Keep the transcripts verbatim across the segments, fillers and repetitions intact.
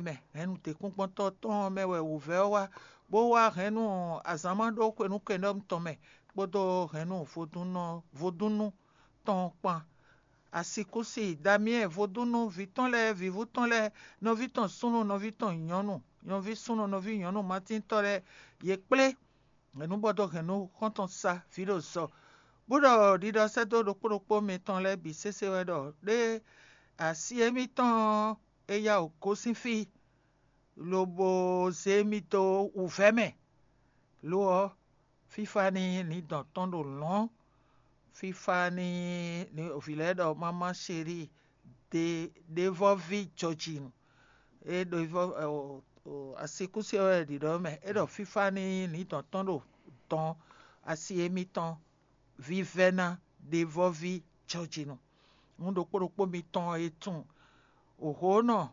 mɛ. Hɛ̌nnu tɛ́nkpɔ́ntɔ́ tɔn ɔ́ mɛ wɛ wǔvɛ́ ɔ́ wá, bó wá hɛ̌nnu azǎn ma ɖó xwenu kɛnɖɔ́nu tɔn mɛ, kpódó hɛ̌nnu vodúnnɔ vodúnnú tɔn ɔ́ kpán. Asikúsi Damiɛ́n vodúnnú ví tɔn lɛ́ɛ, vǐvú tɔn lɛ́ɛ, nɔví tɔn súnnu, nɔví tɔn nyɔ̌nu, nɔví súnnu, nɔví nyɔ̌nu matíntɔ́ lɛ́ɛ, yě kplé hɛ̌nnubɔdɔhɛnnu xɔ́ntɔn sa vǐ ɖo zɔ, bó ɖɔ ɖiɖɔ sɛ́ dó ɖokpó ɖokpó mitɔn lɛ́ɛ bǐ sésé wɛ ɖɔ ɖé asi émítɔn ɔ́ é yá wǔ gosín fí, lobo zé mì dó wǔvɛ́ mɛ. Lo ɔ́, fífá ní nǐ dɔn tɔn ɖo lɔ̌n, fífá ní vǐ lɛ́ɛ ɖɔ mamá chéri, ɖe ɖevɔ́ví jɔjinu. É ɖo asikúsí ɔ́ wɛ ɖiɖɔ mɛ, é ɖɔ fífá ní nǐ dɔn tɔn ɖo dɔn asi émítɔn vívɛ́ná ɖevɔ́ví jɔjinu. Nú ɖokpó ɖokpó mitɔn e tunwun òhǒnɔ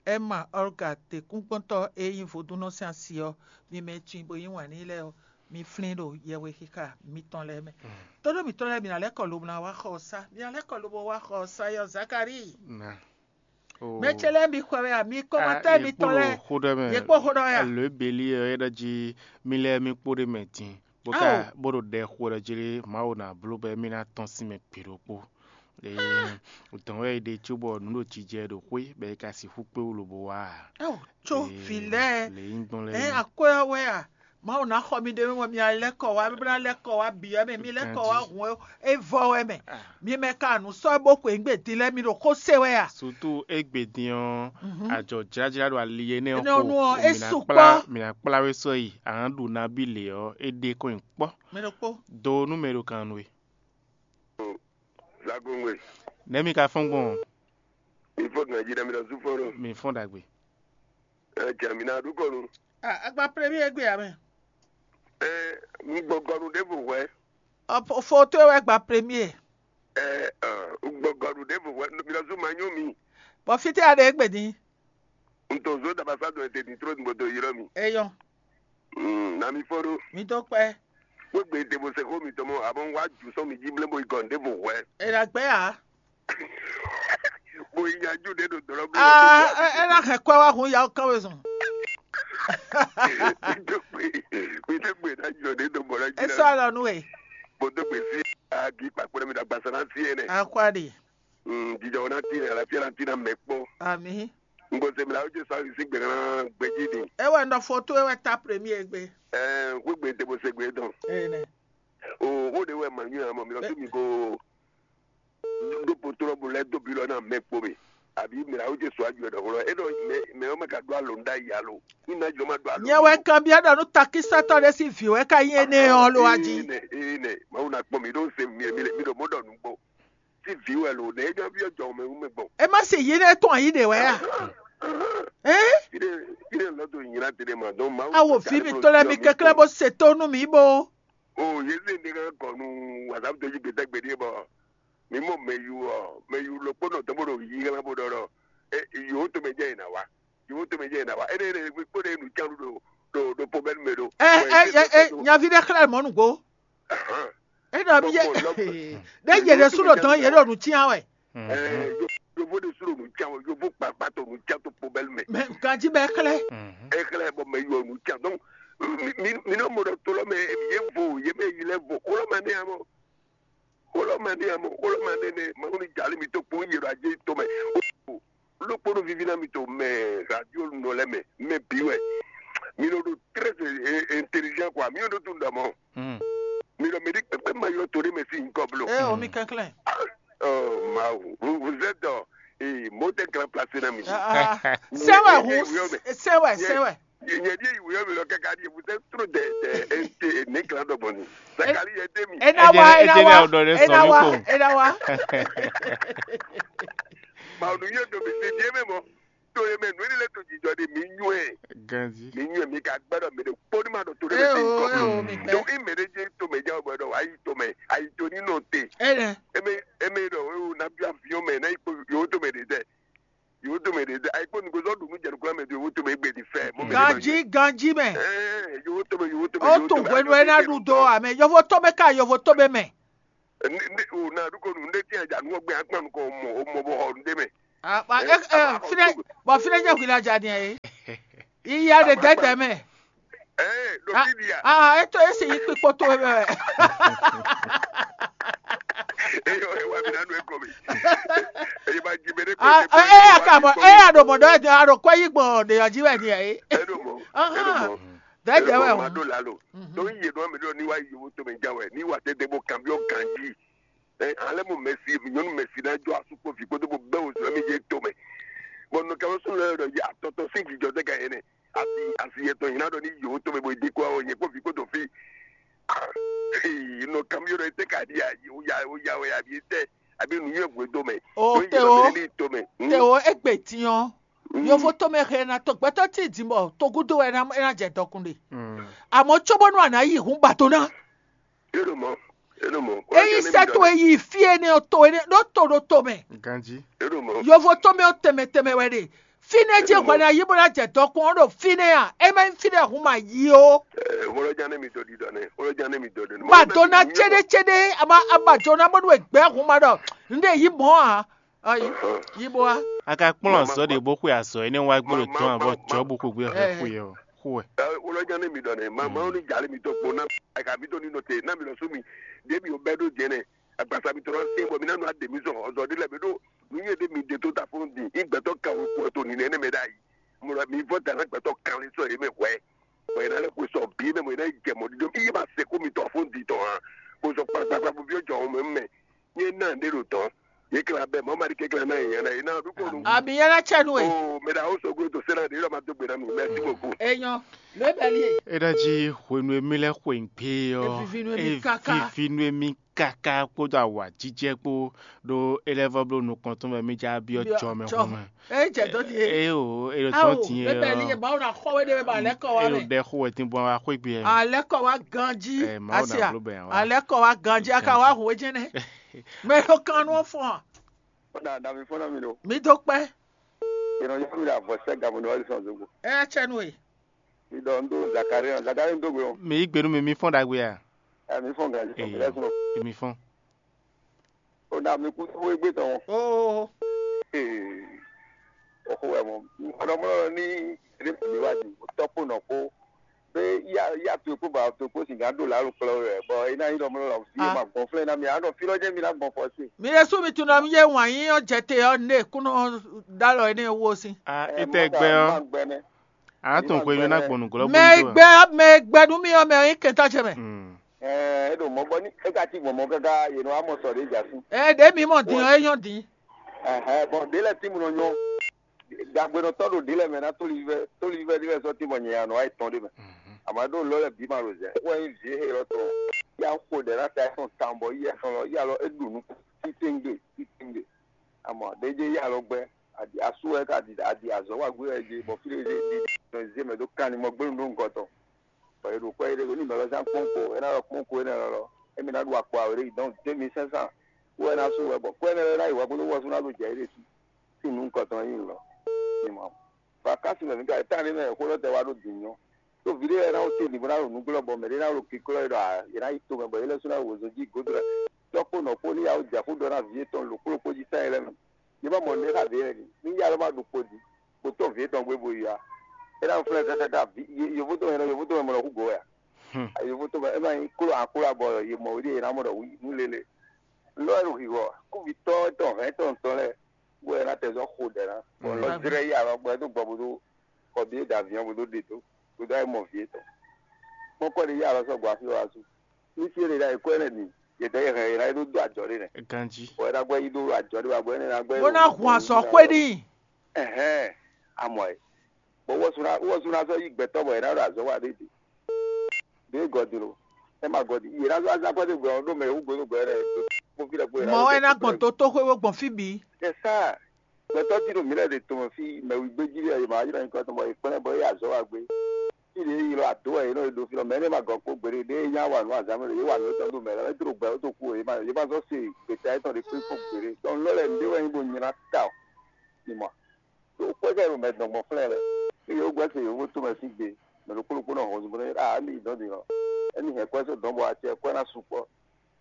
Ɛma Ɔlga tɛ́nkpɔ́ntɔ́ e nyí vodúnnɔ sín asi ɔ́, mi mɛ e tunwun bó yí wǎn n'i lɛ́ɛ ɔ́, mi flín ɖo yɛhwexixa mitɔn lɛ́ɛ mɛ. Tónú mǐtɔn lɛ́ɛ, mi ná lɛ́ kɔ lobo ná wá xɔ ɔ́ sá. Mi ná lɛ́ kɔ lobo wá xɔ ɔ́ sá yɔ Zakalíi. Mɛ ce lɛ́ɛ mi xwɛ wɛ a? Mi kɔmatɔ́ mitɔn lɛ́ɛ, yě kpó xó ɖɔ wɛ a? Alo ebeli ɔ́ é ɖɔ jí mi lɛ́ɛ mi kpó ɖé mɛ din, bó ka bó ɖo ɖɛ xo ɖɔ jí Mawu ná bló bɔ émí ná tɔ́n sín mɛ gbe ɖokpó. Dɔn wɛ è ɖe cóbɔ nǔ ɖo jijɛ ɖo xwé, bɔ è ka sixú kpé wú lobo wá a? Ó, có vǐ lɛ́ɛ, lě nyí gbɔn lɛ́ɛ ɛ akwɛ́ ɔ́ wɛ a? Mawu ná xɔ mi ɖe mɛ, mi ná lɛ́ kɔ wá, mi ná lɛ́ kɔ wá bǐ ɔ́ mɛ, mi lɛ́ kɔ wá hǔn é vɔ wɛ mɛ. Mi mɛ ka nǔ sɔ́ bó xweyǐgbe din lɛ́ɛ, mi ɖo xó se wɛ a? Sutu égbé din ɔ́, ajɔ jlájlá ɖo ali énɛ́ ɔ́ xo, ɔ́, é mǐ ná sukpɔ́. Kplá mǐ ná kplá we sɔ́ yi, a nǎ ɖu nabí lě ɔ́, é ɖe kɔn nyi kpɔ́. Mɛ ɖokpó. Do nú mɛ ɖo kan nú we. Zagongwe. Nɛ̌ mi ka fɔ́n gbɔn? Mi fɔ́n gbɔn jí ɖɔ mi ɖɔ zú fɔ́n ɖo. Mi fɔ́n ɖagbe. Ɛ jɛ mi ná ɖu kɔnu. Ah, agba premier gbe ame. Ɛ, mi gbɔ gɔnu ɖěvo hwɛ. Ɔ, fo- foto wɛ gba premier. Ɛ, ɛ, gbɔ gɔnu ɖěvo hwɛ. Mi ɖɔ zú ma nyú mi. Bɔ fite a ɖe egbe din. N to zo dabasa dɔ ete din tro nugbo to ylɔ mi. Eyɔn. Mm, na mi fɔ ɖo. Mi do kpɛ. Wegbe ete bo se xó mi tɔmɔ abɔ n wa ju sɔn mi ji ble bo yi gɔn ɖěvo hwɛ. E la gbɛ ya. Bo yi nya ju ɖe ɖo dɔlɔ ble. Ah, e la hɛn kɔ wa hun ya kan we zɔn. Mi do gbe, mi do gbe na jɔ ɖe do bɔ na ji. E sɔ alɔ nu e. Bo do gbe si agi kpakpo ɖe mi da gbasa na si ene. Akwa ɖi. Mm, jijɔ na ti ne, alafia na ti na mɛ kpɔ. Ami. N ko se mi la o je sa si gbe na gbeji ni. E wɛ n ɖɔ foto e wɛ ta premier gbe. Ɛɛ, xwé gbe te bo se gbe dɔn. Ene. O, o de wɛ ma nyu amɔ mi lɔ so mi ko do potro bo lɛ do bi lɔ na mɛ kpɔ mi. Abi mi la o je so aju dɔ lɔ. E dɔ mɛ mɛ o mɛ ka do alo nda yi alo. Ni na jɔ ma do alo. Nyɛ wɛ kan bia ɖɔ nu takisatɔ ɖe si vi wɛ ka yi ene ɔ lo aji. Ene, ene. Ma o na kpɔ mi do se mi mi mi do mo dɔ nu gbɔ. Tí vǐ wɛ lo ɖe é jɔ byɔ́ jɔ mɛ wú mɛ gbɔn. E ma se yi ɖe tɔn yi ɖe wɛ a? Ɛ? Yi ɖe yi ɖe lɔ do nyina te ɖe ma dɔn ma. Awo vi mi to lɛ mi kɛklɛ bo se to nu mi bo. O ye se ne ka kɔ nu wasa to yi gbeta gbe ɖe bɔ mi mɔ mɛ yu ɔ mɛ yu lo kpɔnɔ tɔ bo ɖo yi hɛn bo ɖɔ ɖɔ e yo to mɛ jɛ yi na wa. Yevu tɔn mɛ jɛ na wa. Ene ene kpó ɖe nu can ɖo ɖo ɖo pɔbɛn mɛ ɖo. Ɛ ɛ ɛ ɛ nyavi ɖe xlɛ mɔ nugbo. E ɖɔ mi yɛ ɖe yɛ ɖe su ɖo dɔn yɛ ɖo nu tiɲa wɛ. Ɛ yovo ɖe su ɖo nu can wɛ, yovo kpakpa tɔ nu can to pɔbɛn mɛ. Mɛ ganji bɛ xlɛ. E xlɛ bɔ mɛ yɔ nu can donc mi mi mi nɔ mɔ ɖɔ tolɔ mɛ ye vo ye mɛ yi lɛ vo xolɔ mɛ ne amɔ. Xolɔmɛ ní amɔ xolɔmɛ nɛnɛ Mawu ní jalí mi tó kpó yě ɖo ajé tɔn mɛ. Lókpónú viví ná mi tó mɛ radio nɔ lɛ mɛ mɛ bí wɛ. Mi nɔ ɖo très intelligent quoi. Mi nɔ ɖo tún dɔmɔ. Mi nɔ mi ɖi kpɛkpɛ ma yɔ to ɖe mɛ sí nkɔ blo. Ɛ o mi kɛnklɛn. Mawu vous êtes mot de grand place na mi. Sɛwɛ hu sɛwɛ sɛwɛ. Nyɛ ɖie yi wuyɔ mi lɔ kaka ɖie vous êtes trop de de ente ne klan dɔ gbɔn ni. Sakali yɛ de mi. Ena wa ena wa ena wa ena wa. Ma nu yɛ do mi se die mɛ mɔ. To ye mɛ nu ni le to jijɔ de mi nyuɛ. Ganzi. Mi nyuɛ mi ka gbɛdɔ mi de kpɔ ni ma dɔ to de mɛ se nkɔ. Donc i mɛ de je to mɛ ja bɔ dɔ wa yi to mɛ ayi to ni nɔ te. Ene. Eme eme dɔ o na bi avion mɛ na yi kpo yo to mɛ de tɛ. Yòówó tɔmɛ ɖe ɖe ayikpɔ́ nìgbésɔ ɖo nú jɛnukúnlá mɛ ɖo yòówó tɔmɛ égbé ní fɛ mɔ mɛ. Ganjí ganjí mɛ. Ɛɛ yòówó tɔmɛ yòówó tɔmɛ. Ó tún hwenu ena ɖu dó amɛ yɔvo tɔmɛ ka yɔvo tɔmɛ mɛ. Ne ne o na ɖu ko nu ne tiɲɛ ja nu ɔgbɛ akpa nu kɔ mɔ o mɔ bɔ xɔ nu ɖe mɛ. Fínɛ́, bɔ fínɛ́ jẹ́ hwilajá ni ɛ. Yiya ɖe dɛ̌dɛ̌ mɛ. Ee, ɖo fí ɖi a? Ah, eto esi yi kpikpo to mɛ. Eyɔ, ewa mi na nu eko mi. Eyi ma ji mɛ ɖe ko. Ah, eh, eh, aka mɔ, eh, aɖo mɔ ɖɔ, aɖo kɔ yi gbɔn ɖe yɔ ji wɛ ni ɛ. Eɖo mɔ. Eɖo mɔ. Dɛ̌dɛ̌ wɛ o. Ma ɖo la lo. Ɖo yi yě ɖɔ mi ɖɔ ni wa yi yovo to mɛ ja wɛ, ni wa tete bo kan bi o ganji. Ɛ, ale mo mɛsi, nyɔnu mɛsi na jɔ asu kpo vi kpodo bo bɛ o zɔ mi je to mɛ. Bɔ nɔ kɛ so lɛ ɖɔ ya tɔtɔ si jijɔ de ka yene. Asi asi yetɔ yina ɖɔ ni yo to mɛ bo di ko o nye kpo vi kpodo fi. Ah, nɔ kam yo ɖɔ te ka di ya, o ya, o ya, o ya bi te. Abi nu ye gwe do mɛ. O te o. Ni to mɛ. Te o egbe tiɲɔ. Yovo to mɛ xe na to gbɛtɔ ti di bɔ to gudo wɛ na na jɛ dɔkun de. Amɔ tso bɔnu ana yi hun ba to na. Eɖo mɔ, eɖo mɔ. Eyi sɛ to e yi fi ene o to ene ɖo to ɖo to mɛ. Ganji. Eɖo mɔ. Yovo to mɛ o tɛmɛ tɛmɛ wɛ ɖe. Fine je hwɛ na yi bó na jɛ dɔkun ɔ ɖo fine a? E ma nyí fine hun ma yi o. Wolojan ne mi dɔ ɖiɖɔ nɛ. Wolojan ne mi dɔ ɖiɖɔ. Ma dona cede cede ama ama jona bó nu egbɛ hun ma ɖɔ. N ɖe yi mɔ a. Ayi. Yi bó a. A ka kplɔ́n azɔ̌ ɖě bó xwe azɔ̌ énɛ́ wá gbé ɖo tɔn avɔ jɔ̌bu xwegbe hɛn xwe ɔ́ xo wɛ. Wolojan ne mi dɔ nɛ. Ma ma ni jali mi to kpo na. Aka mi to ni nɔ te na mi lɔ su mi. Ɖe mi o bɛ ɖo jɛ nɛ. Agbasa mi to na se bɔ mi na nu ade mi zɔn ɔzɔ ɖe lɛ mi ɖo. Nu ye ɖe mi de to ta fɔlɔ di. Igbɛtɔ kan o kpo to ni nɛ ne mɛ ɖe ayi. Mo la mi vɔ da na gbɛtɔ kan le sɔ ye mɛ hwɛ. Bɔ yɛ na lɛ xwe sɔ bi mɛ mo yɛ na yi jɛ mɔ ɖiɖɔ. Iye ma se ko mi tɔ fɔlɔ di tɔ hã. Ko sɔ kpakpakpa bo bi jɔ o mɛ mɛ. Nye na ɖe ɖo tɔn. Ye kla bɛ mɔ mari ke kla na ye na ye na du ko nu. Abi yɛn na cɛ nu e. O mɛ da o so go to sera de yɔ ma do gbe na mi. Merci beaucoup. Enyɔ, le bɛ li e. E ɖa ji hwenu emi lɛ xwe ŋgbe ɔ. Evivi nu emi kaka. Evivi nu emi kaka kpódó awǎjijɛ kpó ɖó é lɛ́ vɔ bló nukɔn tɔn mɛ mí já byɔ́ jɔ mɛ hɔn mɛ. Eye jɛ dó di e. Eye o, e ɖo tɔn ti e. Bébɛ ni ɔ. Mawu na xɔ we ɖe bɛ alɛ kɔ wa Elo mɛ. Ɖɛ xo wɛ tin bɔn wa xwé gbe. Alɛ kɔ wa ganji. Ɛ Mawu na Asia. Blo bɛ wa. Alɛ kɔ wa ganji aka wa hu ejɛ nɛ. Mɛ ɖo kan nɔ fɔn. Ó dà dà mí fún mi ɖo. Mi dó kpɛ. Ìrànlọ́wọ́ mi là bọ̀ sẹ́ gàmù ní wọ́n sàn zogbo. Ɛ cɛ nu e. Mi dɔ ń dó Zakari náà. Zakari ń dógbe o. Mi yí gbenu mi mi fɔn ɖagbe a? Ẹ mi fɔn gàdí fún mi lẹ́sùn o. Mi fɔn. Ó dà mí kú tó égbé tán o. Oo. Ee. Ọkọ ẹ mọ. Ọdọmọdọ ní eré pẹ̀lú ìwádìí. Tọ́pọ̀ náà kó. Pé yá yá tó kó bá tó kó sì gán dò lálùkọlọ rẹ̀. Bọ̀ iná yín lọ́mọdọ làwọn fi Ah. Ma gbɔn flɛ na mi. Anɔ fi lɔ jẹ́ mi na gbɔn fɔ sí. Mi ɖe sú mi tunɔ mi yé wǎn yí ɔ́ jɛ te ɔ́ ne kúnɔ dá lɔ énɛ́ wó sín. A Ɛ, étɛ má gbɛ dà, ɔ má gbɛ nɛ. A tún xwe mi ná gbɔn nǔglɔ́ Mɛ gbɔn gbɛ mɛ gbɛ nú mi ɔ́ mɛ ɔ́ nyí kɛntɔ́ ce mɛ. Mm. Ɛ, e ɖo mɔ bɔ ní e ka ti gbɔn mɔ káká yě nɔ wá mɔ sɔ ɖě jà sí. Ɛ ɖě mi mɔ din ɔ́ é nyɔ́ din. Ɛhɛn, bɔn ɖě lɛ tí mo nɔ nyɔ. Dagbenɔtɔ́ ɖo ɖě lɛ mɛ ná tóli vívɛ́ tóli vívɛ́ ɖé lɛ sɔ́ tí mɔ nyɛ anɔ wá yi tɔn ɖé mɛ. Àmọ́ ɖó lɔ́ lɛ bǐ ma ɖo zɛ. Wɛ nyí vǐ e lɔ tɔn. Yá xo ɖɛ ná ta ɛsɔn tan bɔ yí ɛsɔn lɔ yí alɔ é ɖu nú títí ŋgbe títí ŋgbe. Amɔ ɖeje yí alɔ gbɛ. Aɖi asú wɛ ká aɖi aɖi azɔ̌ wa gbé wɛ je bɔ fí ɖé ɖé ɖi zé mɛ ɖó kan ni mɔ gbénu ɖó ŋgɔ tɔn. Bɔ è ɖo kwɛ ɖé ní mɛ lɔ zán kpɔ́n ko é ná lɔ kpɔ́n ko énɛ́ lɔ lɔ émi ná ɖu akpo awě ɖé yi dɔn deux mille cinq cents. Wɛ ná sú wɛ bɔ kwɛ énɛ́ lɔ ná yi hwɛ bónú wɔ sú ná ɖo jɛ é ɖé sí. Sín nú ŋkɔ tɔn nyí lɔ. Ní mɔ. Vakasi mɛ mi ka tá ní mɛ xó lɔ tɛ wá ɖó dǐn nyɔ. Tó vi ɖé lɛ́ɛ ná wó tíe nǐgbó ná ɖo nǔglɔ́ bɔ mɛ ɖé ná ɖo kiklɔ́ é ɖɔ ǎ, yě ná yi tomɛ bɔ yě lɛ́ sú ná yi wǒzo jí gǒdo lɛ́ɛ. Tɔ́ kpó nɔ kpó ní yawó jɛ xó ɖɔ ná vǐ yětɔn lǒkplɔ́kpó jí sɛ́n lɛ́ɛ mɛ. Ní ma mɔ nǔɖé xá vǐ lɛ́ɛ ní, ní yá lɔ ma ɖu kpo jí, kpo tɔ́ vǐ yětɔn gbé bo yi ǎ. É ná flɛ́ kákáká vǐ yovótɔn mɛ nɔ yovótɔn mɛ mɔ nɔ hú gǒ wɛ ǎ. Yovótɔn mɛ é má nyí kló akló abɔ yě mɔ wé ɖíe yě ná mɔ ɖɔ wǔ nú lélẹ̀. Lɔ ɛ ɖo hǐhɔ kúvitɔ́ tɔn hɛ̌n tɔn tɔn lɛ́ɛ bó ɛ ná tɛ zɔ́ xo ɖɛ ná. Bɔ lɔ zlɛ́ yi alɔ gbɔ ɛ dó gbɔ bó dó kɔ bíyé da aviɔn bó dó ɖe dó bó dó ayé mɔ vǐ yětɔn. Kpɔ́kpɔ́ ɖé yi alɔ sɔ́ gbɔ afí wá sú. Ní fí e ɖe ɖo ayǐ kɔ ɛnɛ din, yě dɛ yě hɛn yě ná yi ɖó dó ajɔ ɖé nɛ́. Ganjí. Bɔ è ná gbɛ́ yi ɖó ajɔ ɖé wá bɔ énɛ́ ná gbɛ́. Bó ná hun azɔ̌ xwé n'i. Ɛhɛn, amɔ ɛ. Bɔ wɔ sú ná wɔ sú ná sɔ́ yí gbɛtɔ́ bɔ è ná ɖo azɔ̌ wa ɖé ɖe. Ɖé gɔdin lo. Ɛ ma gɔdin. Yě ná sɔ́ azán kɔ́ dé gbɛ ɔ́ ɖó mɛ wú gbódó gbɛ rɛ. Kó fí lɛ kó yě ná. Mɔ wɛ ná gbɔn tó tó xwé wó gbɔn fí bǐ. Ɛ sá. Gbɛtɔ́ tí ɖo mǐ lɛ́ɛ ɖe tɔn fí mɛwígbéjí lɛ́ɛ yě ma wá jlɔ́ nyǐkɔ tɔn bɔ è kplɛ́n bɔ é yi azɔ̌ wa gbé. Fí ɖě é ylɔ́ adǒ wɛ yě nɔ e ɖo fí lɔ mɛ énɛ́ ma gɔn kpó gbeɖé ɖěe nyá wa nǔ azǎn mɛ ɖo yě wa nǔ étɔn ɖo mɛ lɔ é dro gbɛ ó dó kú yě ma yě ma zɔ́ se gbeta étɔn ɖě kpé kpó gbeɖé tɔn lɔ lɛ nǔɖé wɛ nyí bó nylá ta o. Ní mɔ ɖo kpɛ́ kɛ ɖo mɛ dɔn gbɔn flɛ́n lɛ ní yě wó gbɛ́ se yǒvó tó mɛ sín gbe mɛ ɖokpó ɖokpó nɔ hɔn zunbó nɛ a émi yi dɔn din lɔ émi hɛn kwɛ́ só dɔn bɔ acɛ kwɛ́ ná sukpɔ́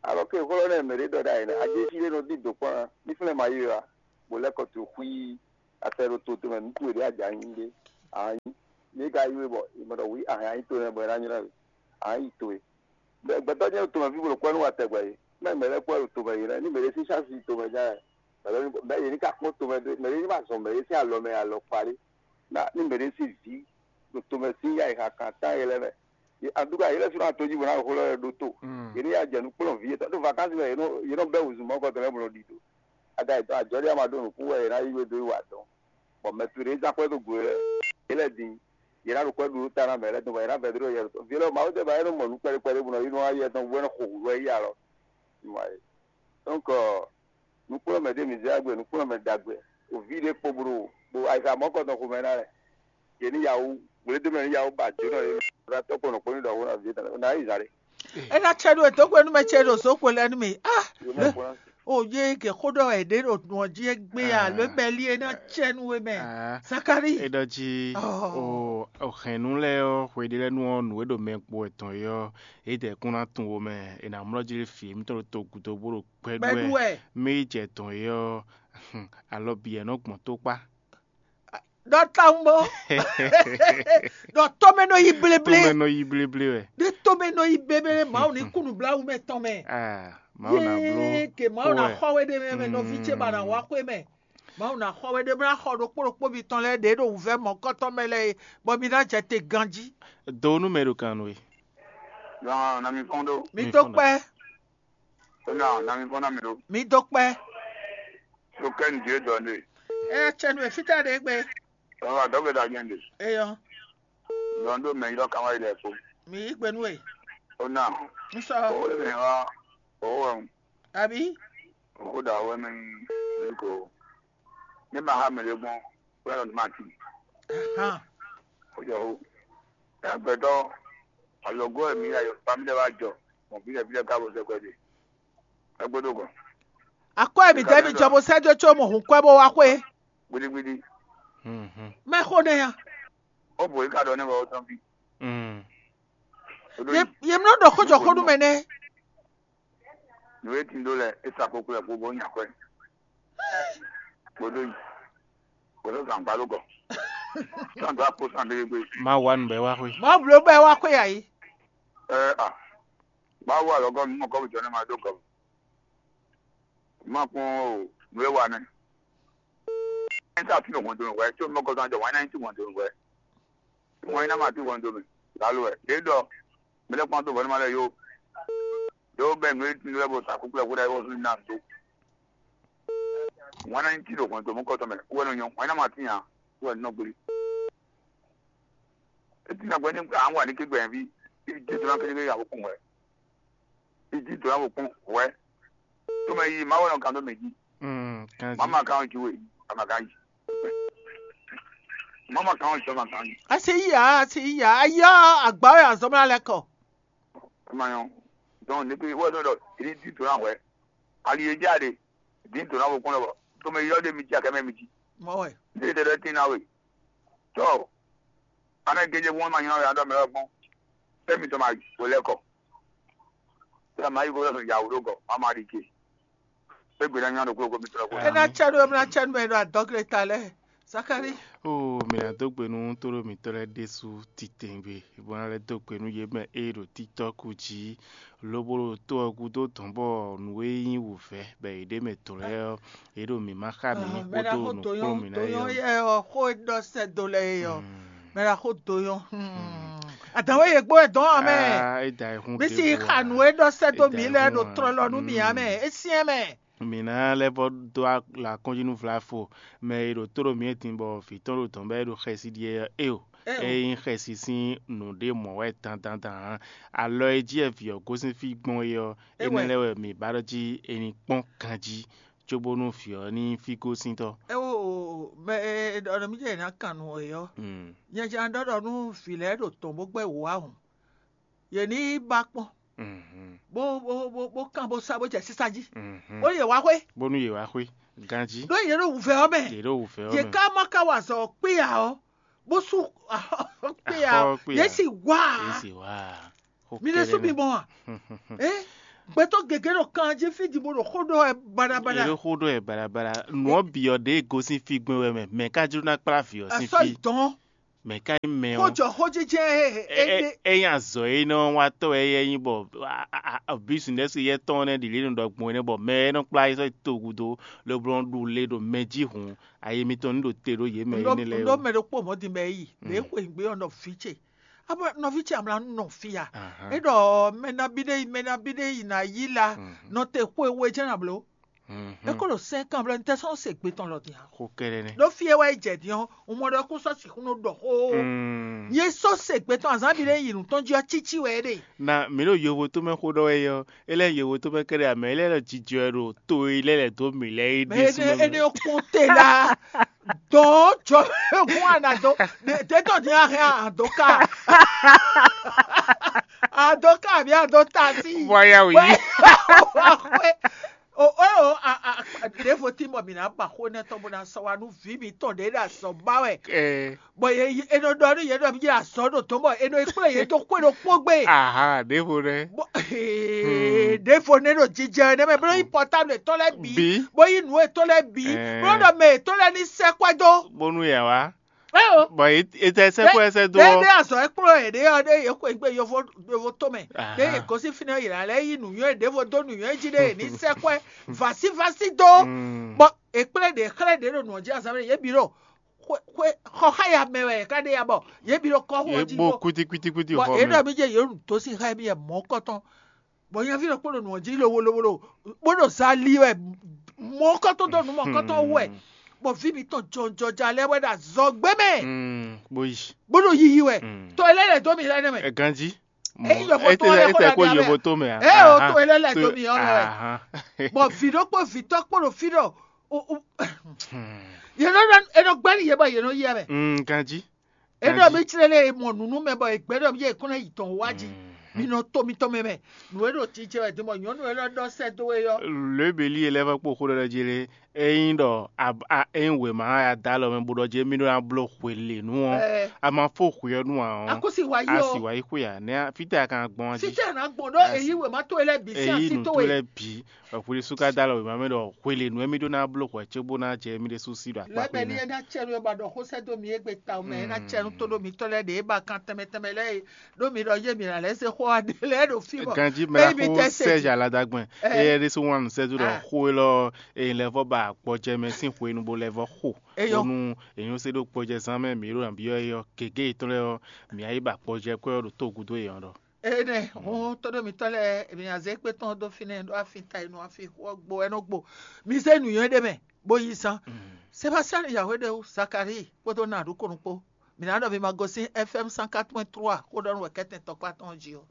alɔ ké xlɔ́ nɛ mɛ ɖě ɖɔ ɖ'ayǐ nɛ ajéfí ɖé nɔ dín dǒ kpɔ́n ná ní flɛ́n ma yí we wá. bó lɛ́ kɔ to xwí atɛ ɖo to tɔn mɛ nukún e ɖě a jǎ nyi ɖé. Ǎ nyí. Yě ka yí we bɔ è mɔ ɖɔ wǐ ahan nyi to nɛ́ bɔ è ná nylá we. Ǎ yi towe. Gbɛtɔ́ nyɛ ɖo tomɛ fí bó ɖo kwɛ́ nú wa tɛgbɛ é. Mɛ mɛ lɛ́ɛ kwɛ́ ɖo tomɛ yě lɛ́ɛ ní mɛ ɖé sín xási tomɛ ján wɛ. Mɛ ɖé ní ba zɔn mɛ ɖé mɛ ɖé ní ba zɔn mɛ ɖé sín alɔ mɛ alɔ kpa ɖé. Ná ní mɛ ɖé sín vǐ ɖo tomɛ sín yá yi xa kan tán yě lɛ́ɛ mɛ. Antuka yě lɛ́ɛ sɔ́ ná tojì bó ná ɖo xó lɛ́ɛ ɖó tó. Yě ní yá jɛ nú kplɔ́n vǐ yětɔn ɖó vakansi mɛ yě nɔ yě nɔ bɛ́ wǔzun mɔ̌ kɔtɔn lɛ́ɛ bó nɔ ɖi do. Ada yětɔn ajɔ̌ ɖé ama ɖó nǔkún wɛ yě ná yí we dó yi wa dɔn. Bɔ mɛ towe ɖě zán xwɛ dó gǔ é lɛ́ɛ é lɛ́ɛ din. Yě ná ɖo kwɛ́ ɖu ta ná mɛ lɛ́ɛ tɔn bɔ yě ná vɛdó ɖo yɛ tɔn. Vǐ lɛ́ɛ Mawu tɛ́ ba é nɔ mɔ nǔ kpɛɖé kpɛɖé bó nɔ yi nɔ wá yɛ tɔn bó é nɔ xo hǔ wɛ yi alɔ. Donc nǔkplɔ́nmɛ ɖé mǐ zɛ agbe nǔkplɔ́nmɛ ɖagbe. Oví ɖé kpo blo bo ayisa mɔ̌kɔtɔn xomɛ ná lɛ. Yě ní yawu gblédó mɛ ní yawu ba jǒnɔ yě. Ɖo atɔ́ kpo nɔkpɔ́ ní ɖɔ xó ná vǐ tɔn ná yi zǎn ɖé. É ná cɛ ɖó e dǒ gbe nú mɛ ce ɖo zǒ xwe lɛ́ɛ nú mì. Ah, Yě mɛ kplɔ́n. O yé ke xó ɖɔ wɛ ɖě ɖo nɔ jí é gbé a lǒ mɛ lí é ná cɛ nú we mɛ. Sakari. É ɖɔ jí Oh. o o hɛ̌nnu lɛ́ɛ ɔ́, hweɖé lɛ́ɛ nu ɔ́, nǔ e ɖo mɛ kpo wɛ tɔn é ɔ́, é dɛ kún ná tunwun wo mɛ, è nǎ mlɔ́ jí ɖé fǐ émítɔn ɖo togun dó bó ɖo gbɛɖú Gbɛɖú wɛ. Mɛ yi jɛ tɔn é ɔ́, alɔ bǐ wɛ nɔ gbɔn tó kpá. Ɖɔ tawun bó. Ɖɔ tɔ́mɛ nɔ yi bléblé. Tɔ́mɛ nɔ yi bléblé wɛ. Ɖé tɔ́mɛ nɔ yi bléblé Mawu ní kú nǔbláwú mɛ tɔn mɛ. Ah, Mawu ná bló. Yé ke Mawu ná xɔ we ɖé mɛ mɛ nɔví ce ba ná wá xwé mɛ. Mawu ná xɔ we ɖé bó ná xɔ ɖokpó ɖokpó mitɔn lɛ́ɛ ɖě ɖo wǔvɛ́ mɔ̌kɔtɔn mɛ lɛ́ɛ é, bɔ mi ná jɛ te ganjí. Do nú mɛ ɖo kan nú we. Lɔn na mi fɔn ɖó. Mi dó kpɛ́. Ó ná na mi fɔn ná mi ɖó. Mi dó kpɛ́. Tó kɛ nìdí é dɔn ɖe. Ɛ cɛ nú efítɛ ɖe gbé. Ɔwɔ adɔgbe da nyɛ ɖe. Eyɔ. Lɔn ɖó mɛ yɔ kama yi lɛ fo. Mi yí gbe nú e. Ó ná. N sɔ. Owó lè mɛ wá. Owó wɛ. Àbí. Owó da wɛ mɛ ní ko. Ní ma ha mɛ lé gbɔn. Wɛ lɔ ní ma ti. Hàn. Ó jọ ó. Ẹgbẹ̀tọ́. Ọ̀yọ́gọ́ ẹ̀mí ayọ̀ pamílẹ̀ wá jọ. Mọ̀ bí lẹ́bí lẹ́ka bó sẹ́kọ̀ọ́ dé. Ẹgbẹ́ tó kàn. Akɔ emi dɛ mi jɔ bo sɛ jo tso mo hun kɔ bo wa xwe. Gbidigbidi. Mɛ xo ne ya. Ó bò yí ká dɔ ní wɔ ó tán bí. Ye mi nɔ ɖɔ xó jɔ xó nu mɛ nɛ. Nǔ e tin ɖó lɛ é sa kókó lɛ kpó bó nya kwɛ. Kpódó yi. Kpódó zan gbá ló gɔ. Sàn tó akpó sàn dégé gbé. Má wá nǔ bɛ wá xwe. Má blo bɛ wá xwe yà yí. Ɛ a. Má wá lɔgɔ nínú kɔ́bù jọ ní ma dó gɔ. Má kún o nǔ e wa nɛ. Ẹ ta fi ògùn dòrò wɛ tí o mọ kọsán jọ wọn náà ń tì wọn dòrò wɛ. Wọn iná máa tì wọn dòrò lálù ẹ. Èyí dọ mẹlẹ kpọ́n tó bọ́ ní ma lẹ yó. Yóò bẹ nù é tún lẹ bó sàkókò ẹ kó dá yóò sún náà tó. Wọn náà ń tì ògùn tó mú kọ́tọ́ mẹ kó wẹ́n nyọ wọn iná máa tì yàn kó wẹ́n nínú gbélé. Etí nàgbẹ́ ní àwọn wà ní kégbẹ̀ẹ́ bí ibi jẹ́ tó náà kékeré yàwó kùn wẹ̀. Iji dɔn abo kpɔn wɛ. Tome yi ma wɛ nɔ kan do mɛ ji. Mm, kan ji. Mama kan ju we, ama kan yi. Mama kan ju, ama kan yi. Asi iya, asi iya, aya agbawo ya zɔmla lɛ kɔ. Ama yɔn. Donc ne pe wɛ dɔ dɔ iri di dɔn wɛ. Ali ye ja de. Di dɔn abo kpɔn lɔ. Tome yɔ de mi ji akɛ mɛ mi ji. Mɔ wɛ. Ne de de tin na we. Tɔ. Ana geje wọn ma nyɔ ya dɔ mɛ gbɔn. Fɛmi tɔ ma yi, o lɛ kɔ. Sɛ ma yi ko lɛ ya wuro gɔ, ma ma di ke. E gbe na nya do klo ko mi tɔ ko. Ena cɛ ɖo emla cɛ nu mɛ ɖo adɔgre ta lɛ. Zakari. O mi na do gbe nu to ɖo mitɔ lɛ ɖesu titengbe. Bɔ na lɛ do gbe nu ye mɛ e ɖo titɔ ku ji. Lobo ɖo to ɔ gúdo dɔn bɔ nǔ e nyí wǔvɛ́ bɛ yě ɖe mɛ dɔn lɛ́ɛ ɔ́, yě ɖo mǐmá xá mǐ kpódó nǔkplɔ́nmǐ ná é ɔ́. Yɛ ɔ xó e ɖɔ sɛ́ dó lɛ é ɔ́. Mɛ ɖo axó do yɔn. Adǎn wɛ yě gbó wɛ dɔn ɔ́ mɛ. Bí si xa nǔ e ɖɔ sɛ́ dó mǐ lɛ́ɛ ɖo tlɔlɔ nú mǐ ǎ mɛ. É syɛ́n mɛ. Mǐ ná lɛ́ vɔ dó la kɔnjí nú Vlafo, mɛ e ɖo tó ɖo mǐ e din bɔ vǐ tɔn ɖo dɔ̌n bɔ é ɖo xɛsi ɖi é ɔ́, é o. É nyí xɛsi sín nǔɖé mɔ̌ wɛ dandandan ǎ. Alɔ e jí wɛ vǐ ɔ́ gosín fí gbɔn é ɔ́, énɛ́ lɛ́ɛ wɛ mǐ ba ɖɔ jí è ní kpɔ́n ganjí, cóbónú vǐ ɔ́ ní nyí fí gosíntɔ́. É o, mɛ e ɖɔ nɔ mì jɛ è nǎ kan nǔ é ɔ́, nyɛ jɛ ná ɖɔ ɖɔ nú vǐ lɛ́ɛ ɖo tɔn bó gbɛ́ wǔ ǎ hǔn. Yě ní yi ba kpɔ́n, bó bó bó bó kán bó sá bó jɛ sísá jí, bó yě wá xwé, bónú yě wá xwé ganjí. Ɖó yě ɖo wǔvɛ́ ɔ́ mɛ. Yě ɖo wǔvɛ́ ɔ́ Yě mɛ. Ká má ká wa azɔ̌ kpé ǎ ɔ́, bó sú kpé ǎ Axɔ ɔ́, kpé yě ǎ. Sì wá Yě ǎ. Sì wá. Xó Mi ɖésú kɛ́ɖɛ́ mi nɛ́. Mɔ a? É Gbɛtɔ́ gěgé ɖo kan jí fí din bó ɖo xó ɖɔ wɛ baɖabaɖa. Yě ɖo xó ɖɔ wɛ baɖabaɖa. Nǔ ɔ́ bǐ ɔ́ ɖě gosín fí gbɛn wɛ mɛ. Mɛ ká jló ná kplá vǐ ɔ́ sín fí. Asɔ yi dɔn. Mɛ ká nyí mɛ ɔ́. Xójɔ xójijɛ e e- e- e- e nyi azɔ e nɔ wa tɔ wɛ yɛ nyi bɔ a- a- a- bísínɛsì yɛ tɔn nɛ ɖi lě nɔ ɖɔ gbɔn nɛ bɔ mɛ e nɔ kplá yi sɔ yi to gúdo lobo nɔ ɖu le ɖo mɛ jí hǔn ayi mitɔn ní ɖo te ɖó yě mɛ Ŋɖɔ énɛ́ lɛ́ɛ ŋɖɔ ó. Mɛ ɖokpó mɔ̌ din mɛ yi lě xwe gbé ɔ́ nɔ vǐ ce. Abo nɔví ce amla nɔ fia. Ahan. E ɖɔ mɛ nabí ɖé yi mɛ nabí ɖé yi na yí la Mhm. Nɔ te xwe we jɛ́n na bló. Mhm. E ko ɖo sɛn kan bló ní tɛ sɔn se gbé tɔn lɔ din a. Xó kɛɖɛ nɛ. Ɖó fie wɛ yi jɛ din ɔ́, un mɔ ɖɔ kó sɔ sixú nɔ ɖɔ xó. Mm. Ye sɔ se gbé tɔn azán bi ɖé yi nǔ tɔn jí ɔ́ títí wɛ é ɖe. Na mǐ ɖo yovo tó mɛ xó ɖɔ wɛ ɔ́, é lɛ́ yovo tó mɛ kɛɖɛ amɛ é lɛ́ lɔ jijɔ ɛ ɖo to e lɛ́ lɛ̌ dó mǐ lɛ́ɛ é Mɛ ɖésú énɛ́ mɛ. Énɛ́ ɔ́ kún te la dɔn jɔ egun ana dó. Ɖe tɔ din ahɛn adó ká. Adó ká àbí adó tasí. Bɔ ya wò yí. Wɛ wɛ o o o a a a- ɖěvo tí mɔ mǐ ná ba xó nɛ́ tɔn bó ná sɔ́ wa nú vǐ mǐtɔn ɖě ɖo azɔ̌ ba wɛ. Ɛ Bɔn yě yí- è nɔ ɖɔ nú yě ɖɔ mí yí azɔ̌ ɖo dɔ̌n bɔ è nɔ yi kplé yě dó xwé ɖokpó gbe. Aha, ɖěvo ɖɛ. Bɔ ee, ɖěvo nɛ́ ɖo jijɛ nɛ́ mɛ bó yí pɔtábl tɔn lɛ́ɛ bǐ Bǐ. Bó yí nǔ etɔn lɛ́ɛ bǐ Ɛɛ. Bó ɖɔ mɛ yětɔn lɛ́ɛ ní sɛ́ kwɛ́ dó. Bónú yɛ wá. Eo. Bɔn etɛ sɛkpɔ ɛsɛ dó Ɖé ɔ. Ɖé azɔ̌ e kplɔ́n yě ɖé ɔ́ ɖé yě xwe gbé yovo yovo tó mɛ. Ɖé yě Aha. Gosín fínɛ́ yě ná lɛ́ yí nǔnywɛ́ ɖěvo dó nǔnywɛ́ jí ɖé yě ní sɛ́ kwɛ́ vasívásí dó. Mm. Bɔ è kplé ɖě xlɛ́ ɖě ɖo nǔ ɔ́ jí azǎn mɛ yě bǐ ɖo xwe xwe xɔ xá ya mɛ wɛ yě ká ɖe ya bɔ yě bǐ ɖo kɔ́xu Yě ɔ́ jí bó bó kwítíkwítíkwítí bɔ xɔ yě mɛ. Ɖɔ mí jɛ yě ɖo dǒ sín xá mì yɛ mɔ̌ kɔtɔn. Bɔ nyaví ɖokpó ɖo nǔ ɔ́ jí lowolowolo bó ɖo za li wɛ mɔ̌ kɔtɔn dó nǔ mɔ̌ kɔtɔn wú wɛ. Bɔ vǐ mǐtɔn jɔnjɔja lɛ́ɛ wɛ ɖo azɔ̌gbé mɛ Mm, bó yi. Bó ɖo yiyi wɛ. Mm. To e lɛ́ lɛ̌ dó mì lɛ́ nɛ́ mɛ. Ɛ ganjí. Eyi yɔfɔ to lɛ xo ɖa ko ɖa yovo mɛ. To mɛ a. Ɛ o Aha. To e lɛ́ lɛ̌ dó mì ɔ́ lɛ wɛ. Aha. Bɔ vǐ ɖokpó vǐtɔ́ kpó ɖo fí ɖɔ o- o- yě nɔ ɖɔ- è nɔ gbɛ́ nú yě bɔ yě nɔ yɛ mɛ. Mm, ganjí. É ɖɔ mí clé lé e mɔ nǔnú mɛ bɔ è gbɛ́ ɖɔ mí yɛ kún ná yi tɔn wá jí. Mi nɔ to mitɔn mɛ mɛ. Nǔ e ɖo jijɛ wɛ din bɔ nyɔ̌nu e lɔ ɖɔ sɛ́ dó we ɔ́. Lěbělí e lɛ́ vɔ́ kpo xó ɖɔ jí lé, ényí ɖɔ a- a- ényí wěma ya dó alɔ mɛ bó ɖɔ jí mí ɖó ná bló hwelěnu ɔ́, Ɛ. A ma fó hwe ɔ́ nú ǎ ɔ́, Akúsi wa yí a sì ɔ. Wá yi xwe ǎ. Nɛ́ a- fítɛ́ a ka gbɔn jí? Fítɛ́ a nǎ gbɔn ɖó A èyí sì- wěma tó e lɛ́ɛ bǐ sín èyí así nǔ tó tó we. Lɛ́ɛ bǐ. Ɛ̀xwlísú ka dó alɔ wěma mɛ ɖɔ hwelěnu émí ɖó ná bló hwɛ cóbó ná jɛ émí ɖésú sí ɖo akpá Lɛ́bɛ́ kpé ní nɛ́. É ná cɛ nú é ba ɖɔ xó sɛ́ dó mì égbé tawun mɛ é ná cɛ nú tó ɖó mitɔ́ lɛ́ɛ ɖě é ba kan tɛnmɛ tɛnmɛ lɛ́ɛ é ɖó mi ɖɔ yé mǐ ná lɛ́ se xó aɖé lɛ́ɛ ɖo fí bɔ Ganjí mɛ émi xó tɛ sɛ Sɛ́ɛzì Aladagbɛn, é. Éyɛ́ ɖésú wán nǔ sɛ́dó ɖɔ Ah. Xó élɔ́ è lɛ́ vɔ́ ba gbɔjɛ mɛ sín hwenu bó lɛ́ vɔ́ xo. Eyɔ. Bónú è nyɔ́ sé ɖó gbɔjɛzán mɛ mǐ ɖo nǎ byɔ́ é ɔ́, gěgé yětɔn lɛ́ɛ ɔ́, mǐ á yi ba gbɔjɛ kwɛ́ ɔ́ ɖo tó gúdo yětɔn ɖɔ. Ene hɔn tɔɖɔ mitɔ lɛ èmi azɛ kpe tɔn dó fínɛ ɖó afi ta inu afi xɔ gbo ɛnɔ gbo mi zɛ nuyɔ ɖe mɛ bó yi zan Sebastian Yahweh ɖe Zakari kpódó na ɖu konu kpó mi ná ɖɔ mi ma gosín FM cent quatre point trois xó ɖɔ nú wɛ kɛtɛn tɔkpá tɔn jí o.